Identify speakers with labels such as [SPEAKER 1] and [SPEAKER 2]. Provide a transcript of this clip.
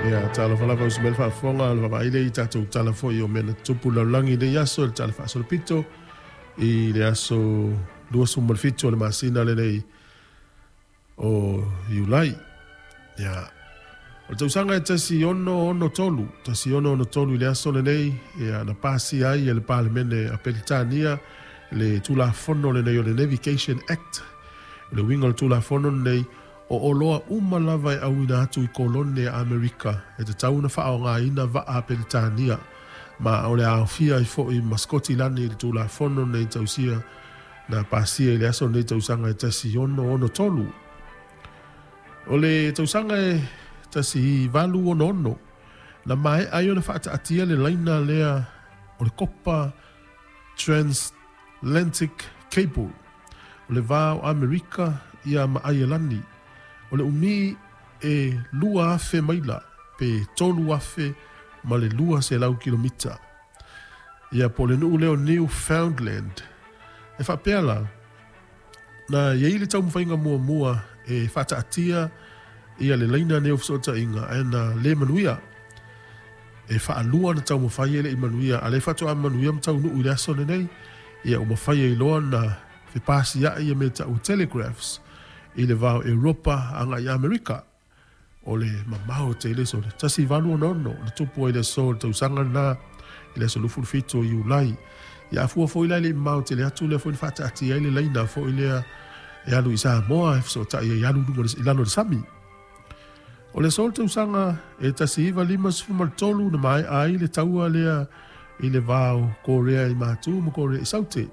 [SPEAKER 1] Ia, talofa lava uso mai le faafofoga, o le vaavaai lea i tatou tala foi o mea na tutupu i le lalolagi i lenei aso i le tala faasolopito i le aso 27 o le masina lenei o Iulai. Ia, o le tausaga e 1663, 1663 i le aso lenei, ia, na pasia ai e le Palemene a Peretania le Tulafono lenei o le Navigation Act. O le uiga o le Tulafono lenei, o oloa uma lava e auina atu i kolone a Amerika e tatau ona faaaogaina vaa a Peretania, ma o le a aofia ai foi ma Sikotilani i le Tulafono lenei tausia na pasia i le aso lenei tausaga e 1663. O le tausaga e 1866, na maea ai ona faataatia le laina lea o le kopa Transatlantic Cable, o le va o Amerika ia ma Aielani. O le umi e 2,000 maila pe 3,200 kilomita. Ia po o le nuu lea o Newfoundland. E faapea la, na i ai le taumafaiga muamua e faataatia ia le laina nei o fesootaiga ae na le manuia. E faalua ona taumafai e le i manuia, a o lea faatoa manuia ma taunuu i le aso lenei, ia ua mafai ai loa ona fepasiai ia mea tau o telegraphs i le va o Europa agai i Amerika. O le mamao tele sole 1866 na tupu ai le aso o le tausaga lena i le aso 27 o Iulai. Ia a fua foi la e le i mamao tele atu lea foi na faataatia ai le laina foi lea e alu i Samoa e fesootai ai alu i luga i lalo o le sami. O le aso o le tausaga e 1953 na maea ai le taua lea i le va o Korea i Matu ma Korea i Saute.